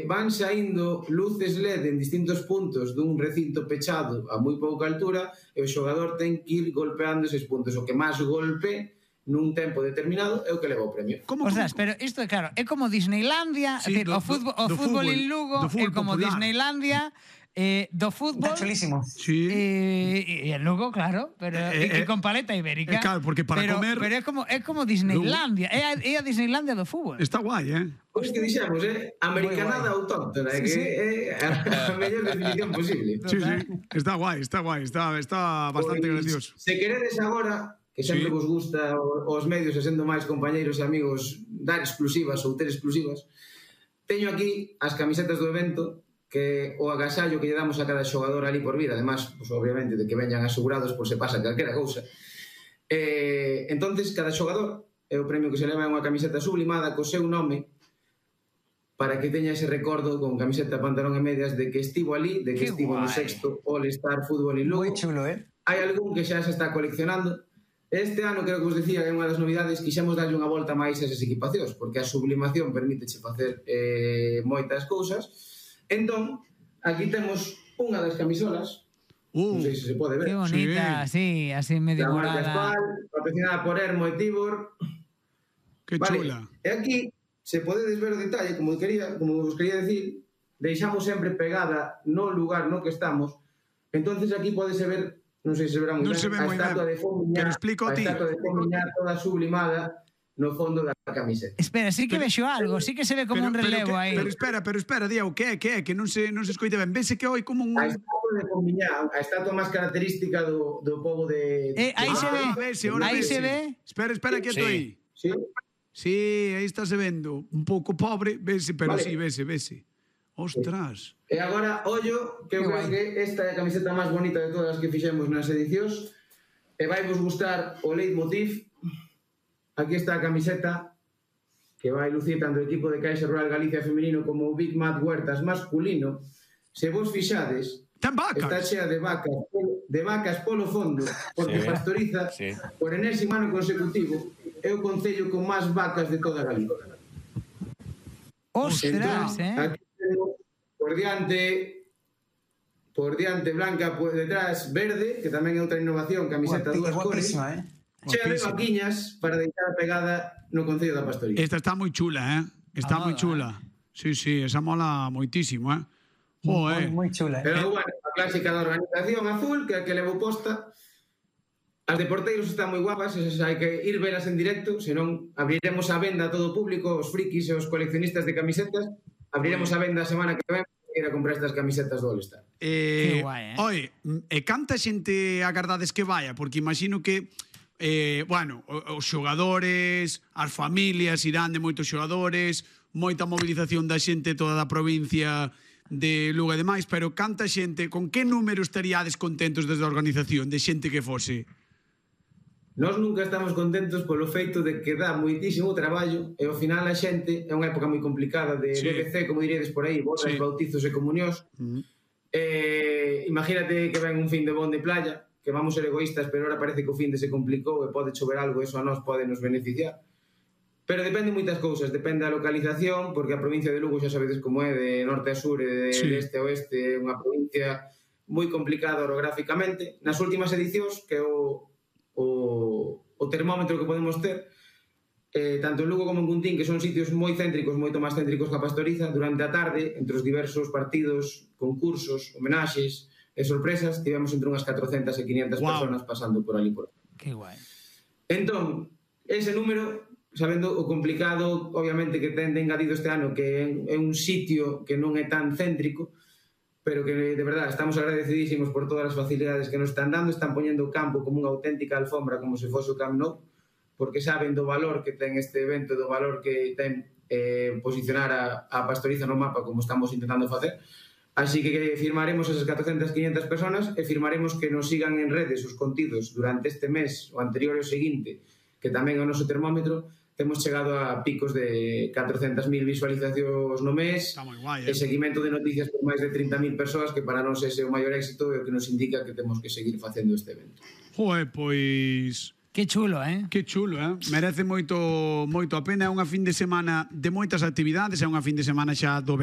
van saindo luces LED en distintos puntos dun recinto pechado a moi pouca altura e o xogador ten que ir golpeando eses puntos. O que máis golpe nun tempo determinado é o que leva o premio. Ostras, pero isto, claro, é como Disneylandia, o fútbol en Lugo é como Disneylandia do fútbol. Está chulísimo. Sí. E en Lugo, claro, pero e con paleta ibérica. Claro, porque para comer... Pero é como Disneylandia, é a Disneylandia do fútbol. Está guai, Pois que dixemos, americanada autóctona, que é a mellor definición posible. Sí, está guai, está bastante gracioso. Se queredes agora, que sempre vos gusta os medios e sendo máis compañeiros e amigos dar exclusivas ou ter exclusivas, teño aquí as camisetas do evento, que o agasallo que lle damos a cada xogador ali por vida, además, pues, obviamente, de que veñan asegurados por se pasa calquera cousa. Entonces, cada xogador é o premio que se leva unha camiseta sublimada co seu nome para que teña ese recordo con camiseta, pantalón e medias de que estivo ali, de que estivo no sexto All-Star Fútbol en Lugo. Moi chulo, Hai algún que xa se está coleccionando. Este ano, creo que vos decía, é unha das novidades, quixemos darlle unha volta máis a esas equipacións, porque a sublimación permíteche facer moitas cousas. Entón, aquí temos unha das camisolas, non sei se se pode ver. Que bonita, sí, así medio morada. Patrocinada por Hermo e Tibor. Que chula. E aquí, se podedes ver o detalle, como vos quería decir, deixamos sempre pegada no lugar no que estamos. Entonces aquí podese ver, non sei se verá moi ben, a estatua de Fomiñá toda sublimada no fondo da camiseta. Espera, sí que vexo algo, sí que se ve como un relevo aí. Pero espera, Diego, que é? Que non se escoita ben. Vese que hai como un... A estatua de Fomiñá, a estatua máis característica do pobo de... Aí se ve, aí se ve. Espera, que estou aí. Sí? Sí, aí está se vendo. Un pouco pobre, vese, pero sí, vese. Ostras. E agora, ollo, que eu creo que esta é a camiseta máis bonita de todas as que fixemos nas edicións. E vai vos gustar o leitmotiv. Aquí está a camiseta que vai lucir tanto o equipo de Caixa Rural Galicia femenino como o Big Mat Huertas masculino. Se vos fixades, está chea de vacas polo fondo, porque Pastoriza, por enésimo ano consecutivo, é o concello con máis vacas de toda Galicia. Ostras, Aquí temos por diante blanca, por detrás verde, que tamén é outra innovación, camiseta dúas cores. Chea de vaquiñas para deixar pegada no concello da Pastoriza. Esta está moi chula, Está moi chula. Sí, esa mola moitísimo, Moi chula. Pero bueno, a clásica da organización azul, que é a que levo posta. As de porteiros están moi guapas, esas hai que ir velas en directo, senón abriremos a venda a todo o público, os frikis e os coleccionistas de camisetas, abriremos a venda a semana que ven para ir a comprar estas camisetas do All-Star. Que guai, Oi, e canta xente agardades que vaya? Porque imagino que os xogadores, as familias irán de moitos xogadores, moita movilización da xente toda da provincia de Lugo e demais, pero canta xente, con que número estaríades contentos desde a organización de xente que fose? Nós nunca estamos contentos polo feito de que dá moitísimo traballo e ao final a xente, é unha época moi complicada de BBC, como diríades por aí, bodas, bautizos e comunións. Imagínate que ven un fin de bon de playa, que vamos ser egoístas, pero ahora parece que o fin de se complicou e pode chover algo, eso a nós pode nos beneficiar. Pero depende moitas cousas, depende da localización, porque a provincia de Lugo xa sabedes como é, de norte a sur e de este a oeste, é unha provincia moi complicada orográficamente. Nas últimas edicións, que é o termómetro que podemos ter, tanto en Lugo como en Cuntín, que son sitios moi céntricos, moito máis céntricos que a Pastoriza, durante a tarde, entre os diversos partidos, concursos, homenaxes e sorpresas, tivemos entre unhas 400 e 500 personas pasando por ali por aí. Que guai. Entón, ese número, sabendo o complicado, obviamente, que ten de engadido este ano, que é un sitio que non é tan céntrico, pero que, de verdade, estamos agradecidísimos por todas as facilidades que nos están dando, están poñendo o campo como unha auténtica alfombra, como se fose o Camp Nou, porque saben do valor que ten este evento, do valor que ten posicionar a Pastoriza no mapa, como estamos intentando facer. Así que firmaremos esas 400, 500 personas e firmaremos que nos sigan en redes os contidos durante este mes, o anterior e o seguinte, que tamén é o noso termómetro. Temos chegado a picos de 400.000 visualizacións no mes, e seguimento de noticias por máis de 30.000 persoas, que para nós ese é o maior éxito e o que nos indica que temos que seguir facendo este evento. Pois... Que chulo, Que chulo, Merece moito a pena. É unha fin de semana de moitas actividades, é unha fin de semana xa do